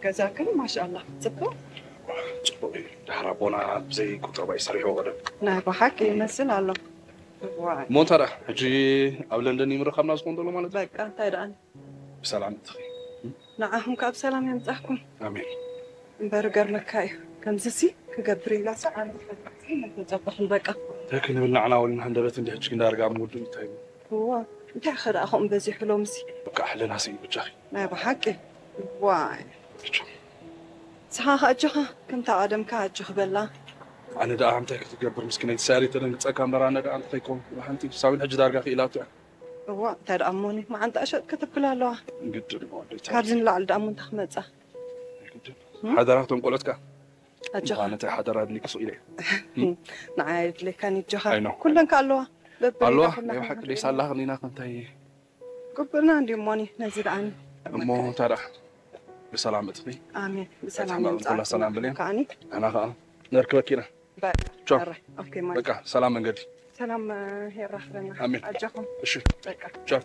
ገዛክን ማሻኣላ ጽቡቅ። ጽቡቅ እዩ። ድሓር ኣቦና ብዘይ ቁጠባ ይሰሪሕዎ ቀደም። ናይ ብሓቂ ይመስል ኣሎ። ዋይ እሞ እንታይ ደኣ ሕጂ ኣብ ለንደን ይምርኻብና ዝኾን ዘሎ ማለት እዩ? በቃ እንታይ ደኣ ብሰላም እትኺ። ንዓኹም ካብ ሰላም የምጻኩም። ኣሜን። እምበር ገርመካ እዩ ከምዚሲ ክገብር ኢላ ሰዓል ተጸበኽን በቃ እንታይ ክንብል ንዓና ወልና ሃንደበት እንዲ ሕጂ እንዳርጋ ምውዱ እንታይ እዩ? እዋ እንታይ ኸ ደኣ ከምኡ በዚሑ ሎምሲ በቃ ሕልና ስኢ ብጃኺ። ናይ ብሓቂ ዋይ ብቻ ንስኻ ከ ኣጆኻ ከምታ ቀደምካ ኣጆኽ በላ ኣነ ደኣ እንታይ ክትገብር ምስኪነይቲ ሳሪ ተደንግጸካ እምበር ኣነ ደኣ እንታይ ኮን ሓንቲ ሳቢን ሕጂ ዳርጋ ክኢላቱ እያ። እዋ እንታይ ደኣ እሞኒ መዓንጣ ሸጥ ክትብል ኣለዋ ግድን እሞ ኣዴታ ካብዚ ንላዕሊ ደኣ እሞ እንታይ ክመጻ ግድን። ሓደራ እቶም ቆሎትካ ኣጆኻ ምዃነ እንታይ ሓደራ ኣድሊኪ ስቕ ኢለ ንዓይ ኣድልየካኒ ኣጆኻ ኣይ ነው። ኩለን ከ ኣለዋ በብሪጋ ኣለዋ ኩላ ናይ ብሓቂ ደይሳላኽኒና ከምታይ ቅብልና እንዲ እሞኒ ነዚ ደኣኒ እሞ እንታይ ደኣ ብሰላም እትኺ ኣሜን ሕማም ኩላ ብሰላም ሰላም ብልዮ። ከዓኒ ኣና ከዓ ነርክበኪ ኢና። በቃ ቻው። ኣረ፣ ኦኬ ማለት በቃ ሰላም መንገዲ ሰላም የራኽበና ኣሜን። ኣጆኹም እሺ በቃ ቻው።